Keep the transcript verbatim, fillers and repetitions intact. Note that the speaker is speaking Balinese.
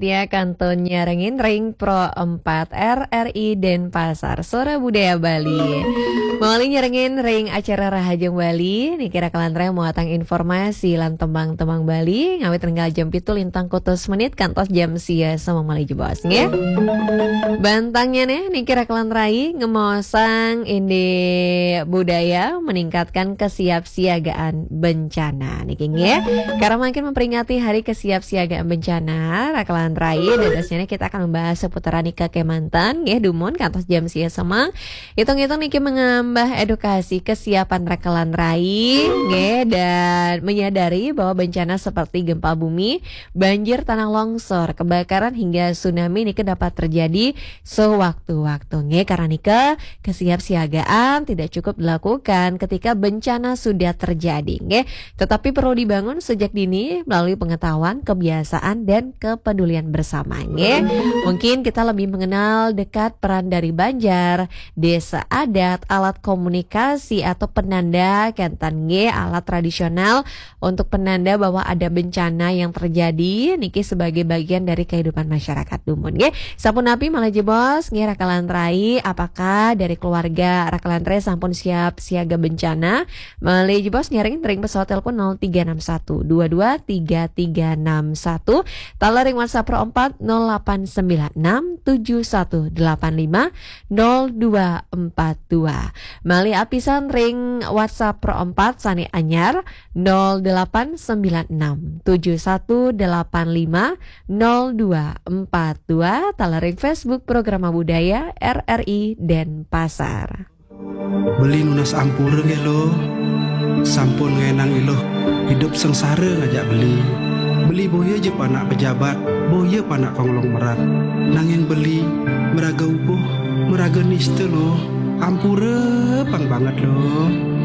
Tia kantun nyarengin ring Pro empat R R I Denpasar, Suara Budaya Bali. Mawali nyarengin ring acara Rahajeng Bali, niki rakelan rai muatang informasi lan tembang-tembang Bali, ngawit ring jam pitu lintang kutus menit kantos jam sia semeng malih jebos, nggih. Bantangnya nih, niki rakelan rai ngemaosang indik budaya meningkatkan kesiapsiagaan bencana. Niki nggih, karena makin memperingati Hari Kesiapsiagaan Bencana, rakelan rai, dadosnya nih kita akan membahas seputaran nika kemanten, nggih, dumun kantos jam sia semeng. Hitung-hitung niki menambah edukasi kesiapan rakelan rai, nggih, dan menyadari bahwa bencana seperti gempa bumi, banjir, tanah longsor, kebakaran, hingga tsunami niki dapat terjadi sewaktu-waktu, nggih. Karena nika, kesiapsiagaan tidak cukup dilakukan ketika bencana sudah terjadi, nggih. Tetapi perlu dibangun sejak dini melalui pengetahuan, kebiasaan, dan kepedulian bersama, nggih. Mungkin kita lebih mengenal dekat peran dari banjar, desa adat, alat komunikasi atau penanda, kenten nggih, alat tradisional untuk penanda bahwa ada bencana yang terjadi, niki sebagai bagian dari kehidupan masyarakat dumun, nggih. Sapunapi malih jebos, nggih, rakelan rai, apakah dari keluarga rakelan rai sampun siap siaga bencana? Malih jebos nyarengin ring pesawat telepon nol tiga enam satu dua dua tiga tiga enam satu, taler ring WhatsApp Pro empat nol delapan sembilan enam tujuh satu delapan lima nol dua empat dua. Malih apisan ring WhatsApp Pro empat sane anyar nol delapan sembilan enam tujuh satu delapan lima nol dua empat dua, taler ring Facebook Programa Budaya R R I Denpasar. Beli nunas ampura nggih, Luh. Sampun ngaenang Iluh idup sengsara ngajak beli. Beli boya ja panak pejabat, boya panak konglomerat. Nanging beli meraga ubuh, meraga nista, Luh. Ampura pang banget, Luh.